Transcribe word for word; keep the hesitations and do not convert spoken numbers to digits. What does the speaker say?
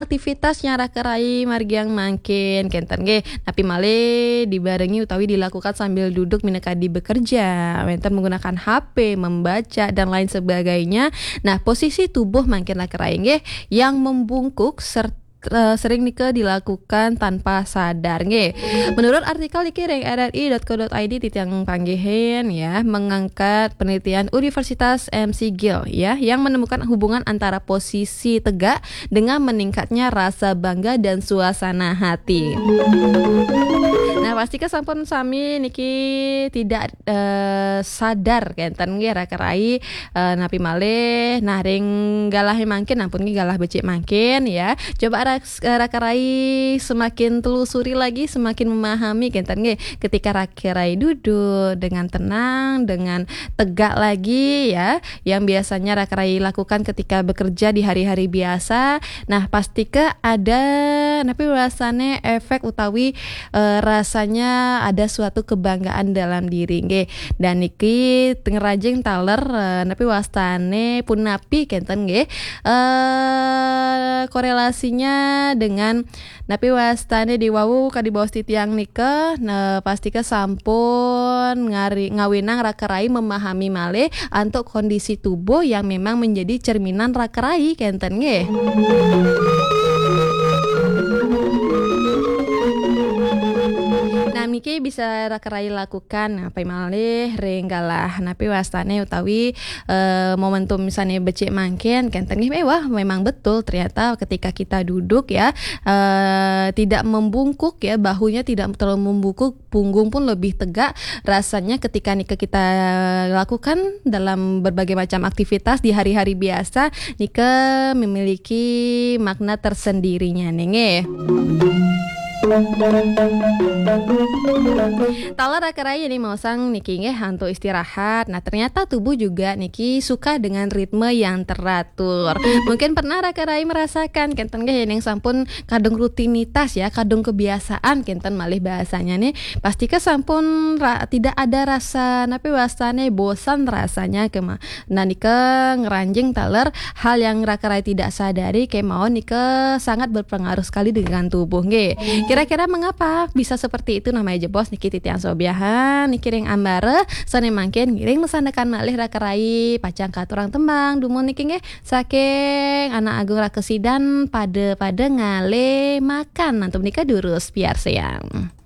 aktivitas yang raka rai margi yang mangkin, kenten nggih. Napi malih dibarengi utawi dilakukan sambil duduk minangka di bekerja, wenten menggunakan H P, membaca, dan lain sebagainya. Nah, posisi tubuh mangkin raka rai nggih yang membungkuk serta eh, sering nika dilakukan tanpa sadar nggih. Menurut artikel niki ring R R I dot co dot I D titiang panggihin ya, mengangkat penelitian Universitas M C Gill ya, yang menemukan hubungan antara posisi tegak dengan meningkatnya rasa bangga dan suasana hati. Nah, pastika sampun sami niki tidak eh, sadar kenten nggih raka rai, eh, napi malih. Nah, ring galah mangkin, ampun nggih, galah becik mangkin ya. Coba ras- eh, raka rai semakin telusuri lagi, semakin memahami kenten nggih. Ketika raka rai duduk dengan tenang, dengan tegak lagi ya, yang biasanya raka rai lakukan ketika bekerja di hari-hari biasa. Nah, pastika ada napi rasane efek utawi eh, rasanya ada suatu kebanggaan dalam diri nggih. Dan niki ngranjing taler, eh, napi wastane punapi kenten nggih. Eh, korelasinya dengan napi wastane di wau kadi baos titiang nika, nah, pastika sampun ngari, ngawinang raka rai memahami malih antuk kondisi tubuh yang memang menjadi cerminan raka rai kenten nggih. Nah, niki bisa raka rai lakukan napi malih ring galah napi wastane utawi eh, momentum misalnya becik mangkin kenten nggih, eh, wah, memang betul ternyata ketika kita duduk ya, eh, tidak membungkuk ya, bahunya tidak terlalu membungkuk, punggung pun lebih tegak. Rasanya ketika nika kita lakukan dalam berbagai macam aktivitas di hari-hari biasa, nika memiliki makna tersendirinya nih nggih. Taler raka rai nih maosang niki nggih antuk istirahat. Nah, ternyata tubuh juga niki suka dengan ritme yang teratur. Mungkin pernah raka rai merasakan kenten nggih ning sampun kadung rutinitas ya, kadung kebiasaan kenten malih bahasanya nih. Pastika sampun ra- tidak ada rasa napi wastane bosan rasanya kema. Nah, nika ngranjing taler hal yang raka rai tidak sadari kemawon nika sangat berpengaruh sekali dengan tubuh nggih. Kira-kira mengapa bisa seperti itu? Namanya jebos niki titiang sobiahan niki ring ambara sane mangkin ngiring mesandekan malih raka rai pacang katurang tembang dumun niki nggih saking Anak Agung Raka Sidan, Pada-pada Ngalih Makan. Antuk nika durus piarsayang.